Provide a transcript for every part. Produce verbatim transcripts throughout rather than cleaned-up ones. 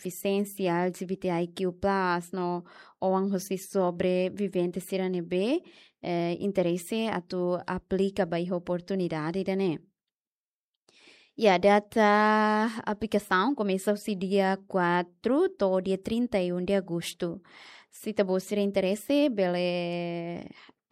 defisiénsia, L G B T I Q plus, no oan husi sobrevivente sira ne'ebé, eh, interese atu aplika ba iha oportunidade ida-ne'e. Ya, data aplikasaun komesa husi dia quatro to'o dia trinta e um de agosto. Se ita-boot sira interese, bele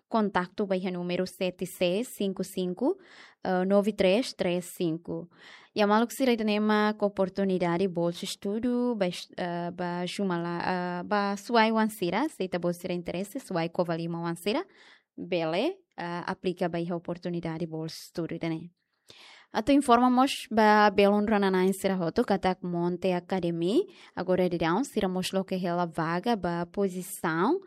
kontaktu ba iha númeru sete seis cinco cinco, eh, nove três três cinco. Ya, maluk sira, ida-ne'e mak oportunidade bolsa estudu ba es-, eh, ba Jumala, eh, ba Suai oan sira, se ita-boot sira interese, Suai Covalima oan sira, bele, eh, aplika ba iha oportunidade bolsa estudu ida-ne'e. Atu informa mós ba belun rona-na'in sira hotu katak Monte Academy, agora daudaun sira mós loke hela vaga ba pozisaun,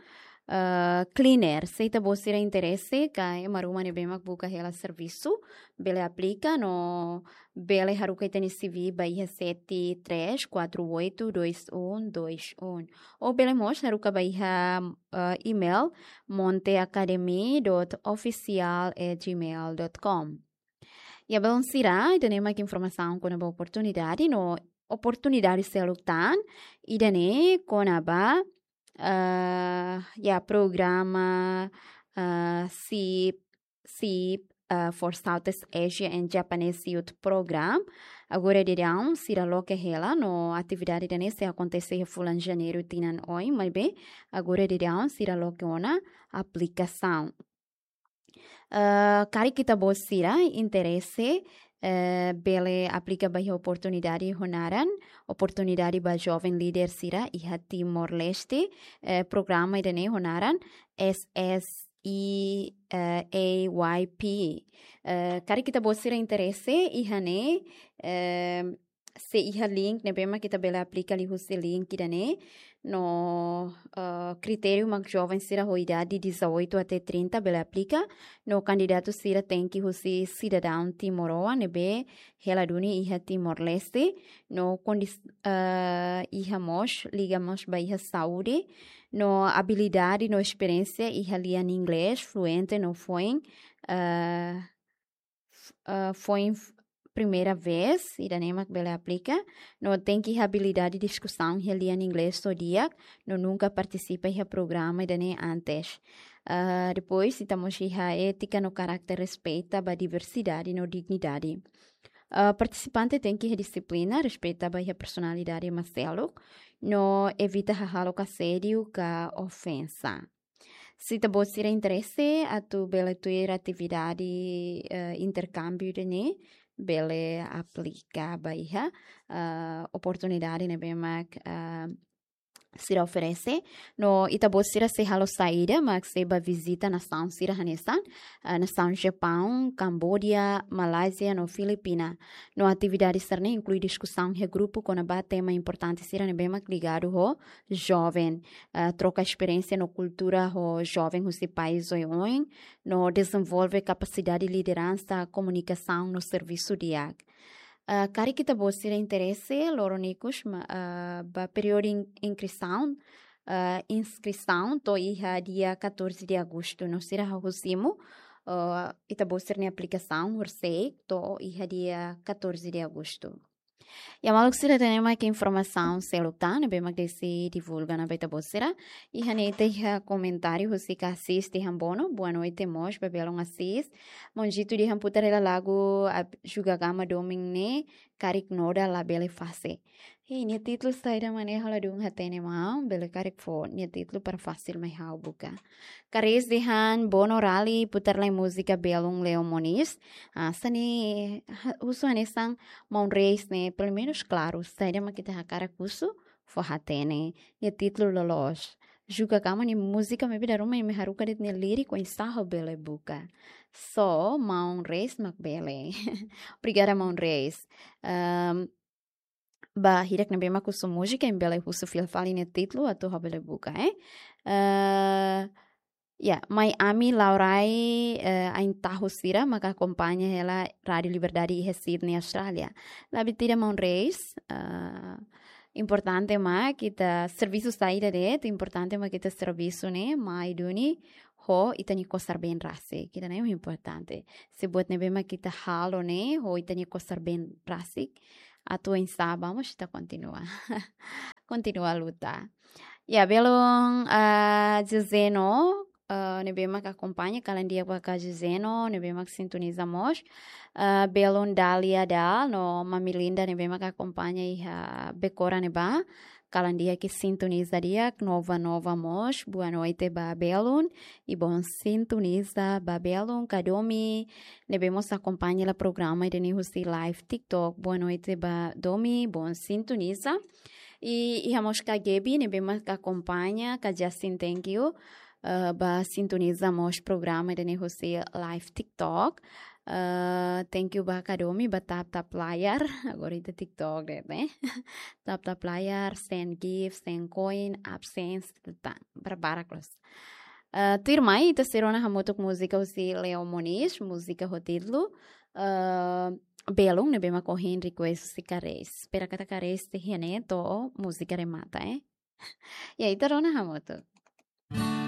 eh, cleaner. Se ita-boot sira interese, ka ema ruma ne'ebé mak buka hela servisu, bele aplika no bele haruka ita-nia C V ba iha sete três quatro oito dois um dois um. Ou bele mós haruka ba iha, eh, email monteacademy dot official at gmail dot com. Ya, belun sira, ida-ne'e mak informasaun kona-ba oportunidade no oportunidade seluk tan, ida-ne'e kona-ba, eh, ya, programa, eh, SIP, SIP, eh, for Southeast Asia and Japanese Youth Program. Agora daudaun sira loke hela no atividade ida-ne'e sei akontese iha fulan Janeiru tinan oin, maibé agora daudaun sira loke ona aplikasaun. Eh, karik ita-boot sira interese, eh, bele aplika ba iha oportunidade ho naran Oportunidade ba Joven Líder sira iha Timor-Leste, eh, programa ida-ne'e ho naran S S E, eh, A Y P. Eh, karik ita-boot sira interese iha ne'e, eh, sei iha link ne'ebé mak ita bele aplika liuhusi link ida-ne'e. No, eh, kritériu mak joven sira ho idade dezoito até trinta bele aplika. No kandidatu sira tenke husi sidadaun timoroan ne'ebé hela duni iha Timor-Leste. No kondis-, eh, iha mós, liga mós ba iha saúde. No abilidade no esperiénsia iha lian inglés fluente no foin, eh, f-, eh, foin f-, primeira vez, ida-ne'e mak bele aplika. No tenke iha abilidade diskusaun iha lian inglés ho di'ak, no nunka partisipa iha programa ida-ne'e antes. Eh, depois, ita mós iha étika no karakter respeita ba diversidade no dignidade. Eh, partisipante tenke iha dixiplina, respeita ba iha personalidade ema seluk, no evita hahalok asédiu ka ofensa. Se ita-boot sira interese atu bele tuir atividade, eh, interkámbiu ida-ne'e, bele aplika ba iha, eh, oportunidade ne'ebé mak, eh, sira oferese. No ita-boot sira sei halo saida, mak sei bá vizita nasaun sira hanesan, eh, nasaun Japaun, Kamboja, Malázia, no Filipina. No atividade sira-ne'e inklui diskusaun iha grupu kona-ba tema importante sira ne'ebé mak ligadu ho joven, eh, troka esperiénsia no kultura ho joven husi país oioin, no dezenvolve kapasidade lideransa, komunikasaun no servisu di'ak. Eh, karik ita-boot sira interese, loron ikus ma-, eh, ba períodu in-, inskrisaun, eh, inskrisaun to'o iha dia catorze de agosto. No sira hahú simu, eh, ita-boot sira-nia aplikasaun horisehik to'o iha dia catorze de agosto. Ya, maluk sira, ida-ne'e mak informasaun seluk tan ne'ebé mak Desi divulga ona ba ita-boot sira. Iha ne'e ita iha komentáriu husi Assis dehan bono, boa noite mós ba belun Assis. Maun Jito dehan putar hela lagu ab-, Juga Gama Domin ne'e, karik noda labele fase. Hei, nia títulu saida mak ne'e, ha'u ladún hatene maun, bele karik fó nia títulu para fasil mai ha'u buka. Karis dehan bono Rali putar lai múzika belun Leo Moniz. Ah, hanesan ne'e, ha-, husu hanesan maun Reis ne'e, pelumenus klaru, saida mak ita hakarak husu, fó hatene. Nia títulu loloos. Juga Gama nia múzika maibé dala ruma imi haruka de'it nia líriku, oinsá ha'u bele buka. So, maun Reis mak bele. Obrigada, maun Reis. Ehm, ba hirak ne'ebé mak husu múzika, imi bele husu fila fali nia títulu atu ha'u bele buka, eh. Eh, ya, mai ami Laurai, eh, ain tahu sira maka akompaña hela Rádiu Liberdade iha Sydney, Austrália. Labele tira maun Reis, eh, importante mak ita servisu saida de'it, importante mak ita servisu ne'e mai duni ho ita-nia kosar-been rasik. Ida-ne'e importante. Se buat ne'ebé mak ita halo ne'e ho ita-nia kosar-been rasik, atu oinsá ba mós ita kontinua. kontinua luta. Ya, belun, ah, Joseno, ah, ne'ebé mak akompaña, kalan di'ak ba Joseno, ne'ebé mak sintoniza mós. Ah, belun Dalia Dal, no Mami Linda, ne'ebé mak akompaña iha Bekora ne'ebá. Kalan di'ak, sintoniza di'ak, Nova Nova mós. Boa noite ba belun. I bom sintoniza ba belun, Kadomi, ne'ebé mós akompaña hela programa ida-ne'e husi live TikTok. Boa noite ba Domi, bom sintoniza. I, i iha mós Kagebi, ne'ebé mak akompaña, Ka Justin, thank you. Eh, ba sintoniza mós programa ida-ne'e husi live TikTok. Eh, thank you ba Kadomi, ba tap tap layar. Agora ita TikTok de'it, ne'e? Tap tap layar, send gift, send coin, AdSense, tan, barbarak loos. Eh, tuirmai, ita sei rona hamutuk múzika husi Leo Moniz, múzika ho títulu, eh, Belun, ne'ebé mak ohin request husi Kares. Espera katak Kares sei hein ne'e to'o múzika remata, eh. Ya, ita rona hamutuk.